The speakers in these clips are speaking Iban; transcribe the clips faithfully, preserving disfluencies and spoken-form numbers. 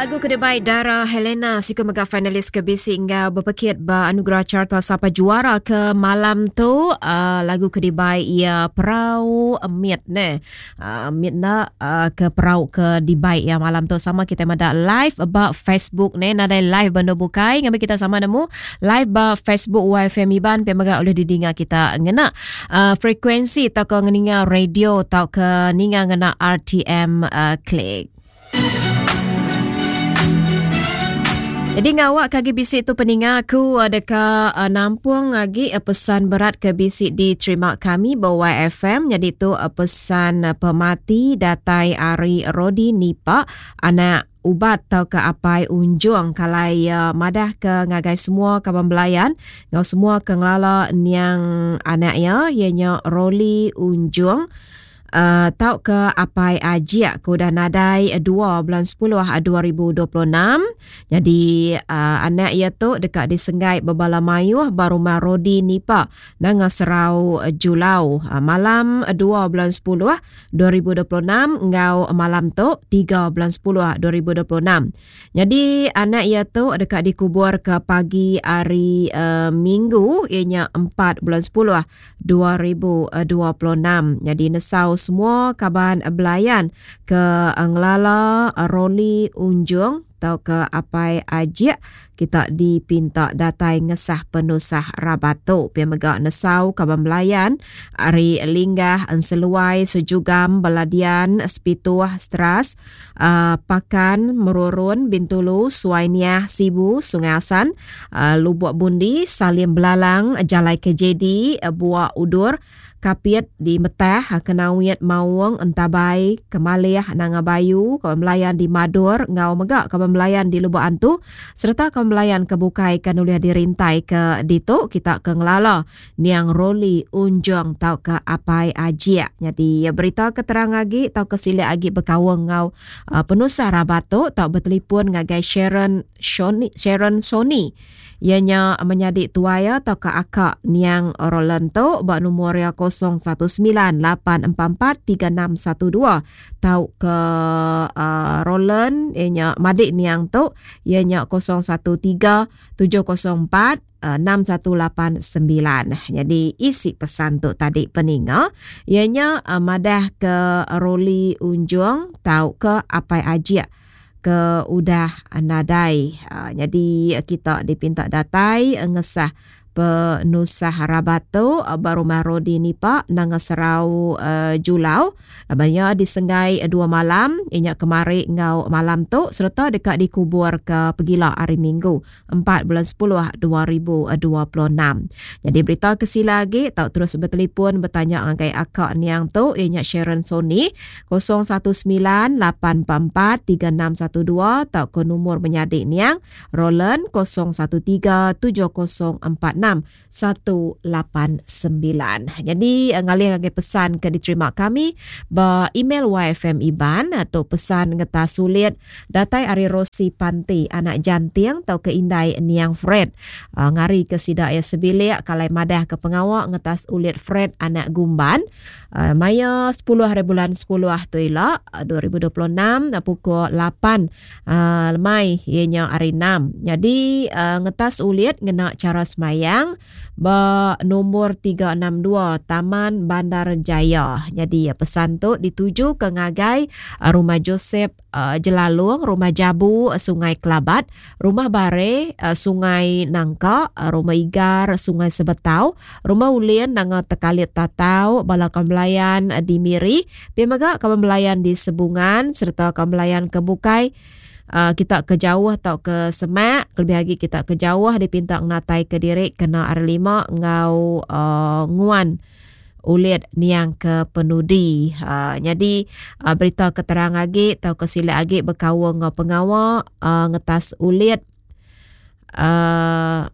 Lagu ke dibai Dara Helena siku mega finalis ke bisi enggau bepekit ba Anugerah Carta Sapa Juara ke malam tu. Uh, lagu ke dibai iya Perau Mit ne. Uh, mit na uh, ke perau ke dibai iya malam tu sama kita meda live ba Facebook ne, nadai live benda bukai ngambi kita sama nemu live ba Facebook Y F M Iban pe mega ulih didinga kita ngena uh, frekuensi tau ke ngeninga radio tau ke ninga ngena R T M uh, Click. Jadi ngawak kagi bisi tu peninga aku ada ke uh, nampung lagi uh, pesan berat ke bisi diterima kami ba Y F M. Jadi tu uh, pesan uh, pemati datai ari Rodi Nipa anak ubat tau ke apai unjung kalai uh, madah ke ngagai semua kaban belayan ngau semua ke ngelala niang anak ya ianya Roli Unjung. Uh, tau ke apai ajiak ke udah nadai dua bulan sepuluh dua ribu dua puluh enam. Jadi uh, anak ia tu dekat disenggai bebala mayuh ba rumah Rodi Nipa nanga Serau Julau uh, malam dua bulan sepuluh dua ribu dua puluh enam ngau malam tu tiga bulan sepuluh dua ribu dua puluh enam. Jadi anak ia tu dekat dikubur ke pagi hari uh, Minggu ianya empat bulan sepuluh dua ribu dua puluh enam. Jadi nesau semua kaban belayan ke ngelala Roli Unjung atau ke apai ajiak kita dipinta datai ngesah penusah rabat tu. Pia mega nesau kaban belayan ari Linggah, Enseluai, Sejugam, Beladian, Sepituh, Stras, uh, Pakan, Merurun, Bintulu, Suainiah, Sibu, Sungai Asan, uh, Lubuk Bundi, Salim Belalang, Jalai K J D, Buak Udur, Kapit di Metah, Kenawit, Maung, Entabai, Kemalih, Nangabayu, kawan belayan di Madur, Ngau mega kawan belayan di Lubuk Antu, serta kawan belayan ke bukai kan uliah dirintai ke ditu kita ke ngelala niang Roli Unjung tau ke apai ajiak. Jadi berita keterang lagi tau ke silik lagi berkawang ngau uh, penusah rabat tu tau bertelefon ngagai Sharon Shoni, Sharon Sony. Ianya menyadik tuaya atau ke akak niang Roland tu bak nombor ya kosong satu sembilan lapan empat empat tiga enam satu dua tau ke uh, Roland ianya madik niang tu ianya kosong satu tiga tujuh kosong empat enam satu lapan sembilan. Jadi isi pesan tu tadi peninga ianya uh, madah ke Roli Unjung tau ke apai ajiak ke udah nadai. Uh, jadi kita dipinta datai ngesah penusah rabat tu baru Rodi Nipa nanga Serau uh, Julau. Abangnya disenggai dua malam inya kemari ngau malam tu serta dekat dikubur ke Pegila hari Minggu empat bulan sepuluh dua ribu dua puluh enam. Jadi berita kesila lagi tau terus bertelefon bertanya ngagai akak niang tu inya Sharon Sony kosong satu sembilan lapan empat empat tiga enam satu dua tau ke nombor menyadik niang Roland kosong satu tiga tujuh kosong empat enam satu lapan sembilan. Jadi ngalih ngagai pesan ke diterima kami ba email Y F M Iban atau pesan ngetas sulit datai ari Rosi Panti anak janting atau ke indai niang Fred. Uh, ngari ke sida ya sebilik kalai madah ke pengawak ngetas ulit Fred anak gumban. Uh, maya sepuluh hari bulan sepuluh tu ila dua ribu dua puluh enam pukul lapan uh, lemai ianya hari enam. Jadi uh, ngetas ulit ngena cara semayang ba nombor tiga enam dua Taman Bandar Jaya. Jadi pesan tu dituju ke ngagai Rumah Joseph uh, Jelalung, Rumah Jabu Sungai Kelabat, Rumah Bare uh, Sungai Nangka, Rumah Igar Sungai Sebetau, Rumah Ulin Nanga Tekalit Tatau, Bala Kambelayan di Miri, pia mega Kambelayan di Sebungan serta Kambelayan ke Bukai. Uh, kita ke jauh atau ke Semak, lebih lagi kita ke jauh dipinta ngatai ke diri kena hari lima ngau uh, nguan ulit niang ke penudi. Uh, jadi uh, berita keterang lagi atau kesilap lagi berkawang ngau pengawa uh, ngetas ulit uh,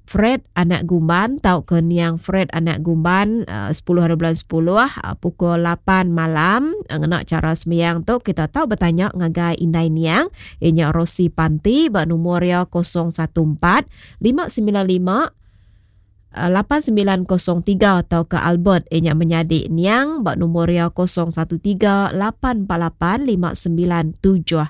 Fred anak gumban tau ke niang Fred anak gumban uh, sepuluh hari bulan sepuluh uh, pukul lapan malam uh, ngena cara sembiang tu kita tahu bertanya ngagai indai niang inya Rosi Panti ba nombor ya kosong satu empat lima sembilan lima lapan sembilan kosong tiga atau ke Albert inya menyadik niang ba nombor ya kosong satu tiga lapan empat lapan lima sembilan tujuh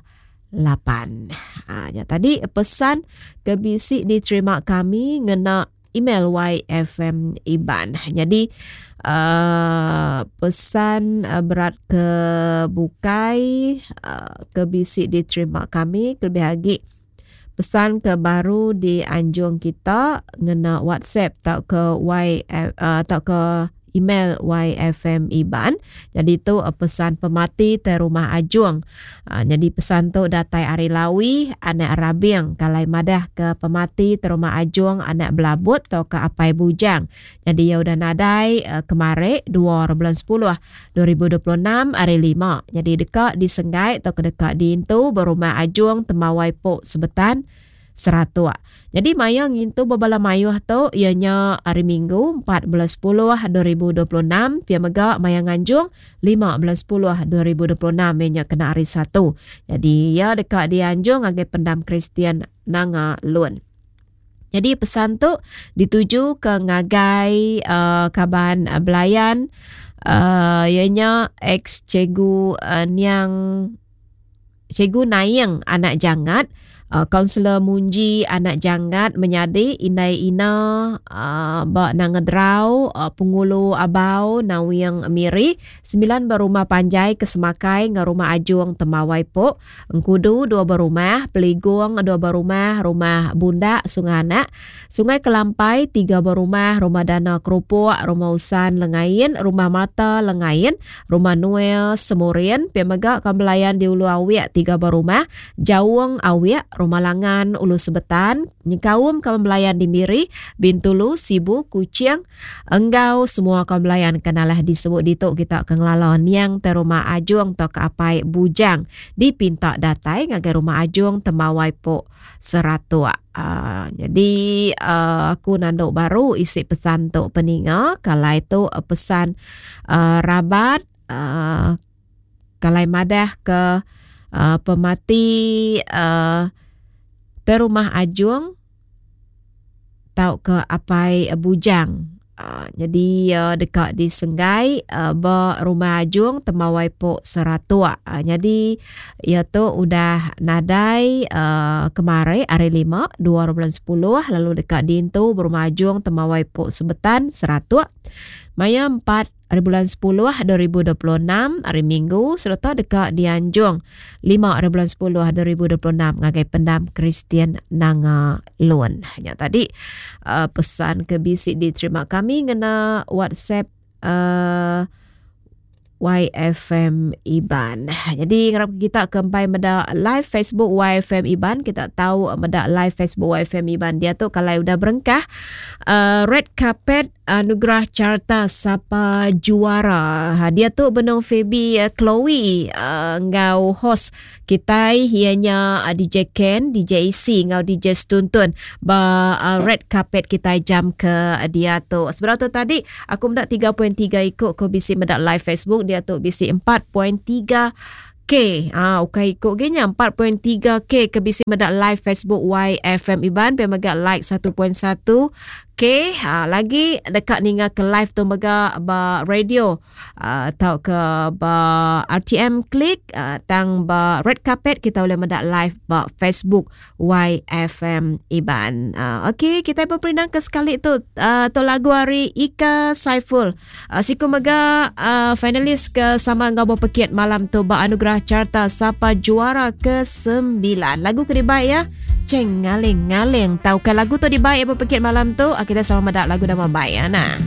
lapan. Ha, nya tadi pesan ke bisi diterima kami ngena email Y F M Iban. Jadi uh, pesan uh, berat ke bukai uh, ke bisi diterima kami kelebih lagi pesan ke baru di anjung kita ngena WhatsApp atau ke Y uh, atau ke email Y F M Iban. Jadi tu pesan pemati te rumah Ajung. Uh, jadi pesan tu datai ari Lawi anak Rabing kalai madah ke pemati te rumah Ajung anak Belabut atau ke Apai Bujang. Jadi ya udah nadai uh, kemari dua bulan sepuluh dua ribu dua puluh enam hari lima. Jadi dekat di Senggai atau ke dekat di Intu berumah Ajung Temawai Pok Sebetan Seratuk. Jadi maya ngintu bebala mayuh tu ianya hari Minggu empat belas sepuluh dua ribu dua puluh enam, pia mega maya nganjung lima belas sepuluh dua ribu dua puluh enam ianya kena hari Satu. Jadi ia dekat dianjung agai pendam Kristian Nanga Lun. Jadi pesan tu dituju ke ngagai uh, kaban uh, belayan uh, ianya ex cikgu uh, niang cikgu Naing anak Jangat, Kaunselor uh, Munji anak Jangat menyadi Indai Ina uh, ba Nangedrau uh, Pengulu Abau Nawiang Miri sembilan berumah panjai Kesemakai ngah rumah Ajung Temawai Pok Engkudu dua berumah Peligung dua berumah rumah Bundak Sungai Anak Sungai Kelampai tiga berumah rumah Dana Kerupuk rumah Usan Lengain rumah Mata Lengain rumah Noel Semurian pia mega kambelayan di Ulu Awiak tiga berumah Jawung Awiak Rumah Langan Ulu Sebetan nyengkaum kaum belayan di Miri, Bintulu, Sibu, Kuching, enggau semua kaum belayan kenalah disebut ditu kita ke ngelala niang te rumah Ajung atau ke Apai Bujang dipinta datai ngagai rumah Ajung Temawai Pok Seratuk. Uh, jadi uh, aku nanduk baru isi pesan tu peninga kalau itu uh, pesan uh, rabat uh, kalau madah ke uh, pemati uh, te rumah Ajung tau ke Apai Bujang. Uh, jadi uh, dekat di Senggai uh, ba rumah Ajung Temawai Pok Seratuk. Uh, jadi ia tu udah nadai uh, kemari hari lima dua bulan sepuluh lalu dekat di Intu berumah Ajung Temawai Pok Sebetan Seratuk. Maya empat hari bulan sepuluh dua ribu dua puluh enam hari Minggu serta dekat di Anjung lima hari bulan sepuluh dua ribu dua puluh enam ngagai pendam Kristian Nanga Lun. Hanya tadi uh, pesan ke bisi diterima kami ngena WhatsApp uh, Y F M Iban. Jadi ngarap kita kempai meda live Facebook Y F M Iban, kita tahu meda live Facebook Y F M Iban dia tu kalau udah berengkah uh, red carpet anugerah carta sapa juara. Ha, dia tu benong Phoebe uh, Chloe uh, ngau host kita ianya uh, D J Ken, D J C ngau D J Stuntun ba uh, red carpet kita jam ke dia tu. Sebenarnya tu tadi aku mendak tiga perpuluhan tiga ikut ko bisi mendak live Facebook dia tu bisi empat perpuluhan tiga K. Ah, ukai ikut genya empat perpuluhan tiga K ke bisi mendak live Facebook Y F M Iban pe mega like satu perpuluhan satu K. Ha, lagi dekat ninga ke live tu mega ba radio atau uh, ke ba R T M klik uh, tang ba red carpet kita boleh mendak live ba Facebook Y F M Iban. Uh, okey, kita berperindang ke sekali tu uh, tu lagu hari Ika Saiful. Uh, siku mega uh, finalis ke sama ngau berpekiat malam tu ba anugerah carta sapa juara ke sembilan. Lagu ke dibaik ya. Ceng ngaling ngaling. Tahu ke lagu tu dibaik berpekiat malam tu? Kita sama medak lagu nama baik ya nah.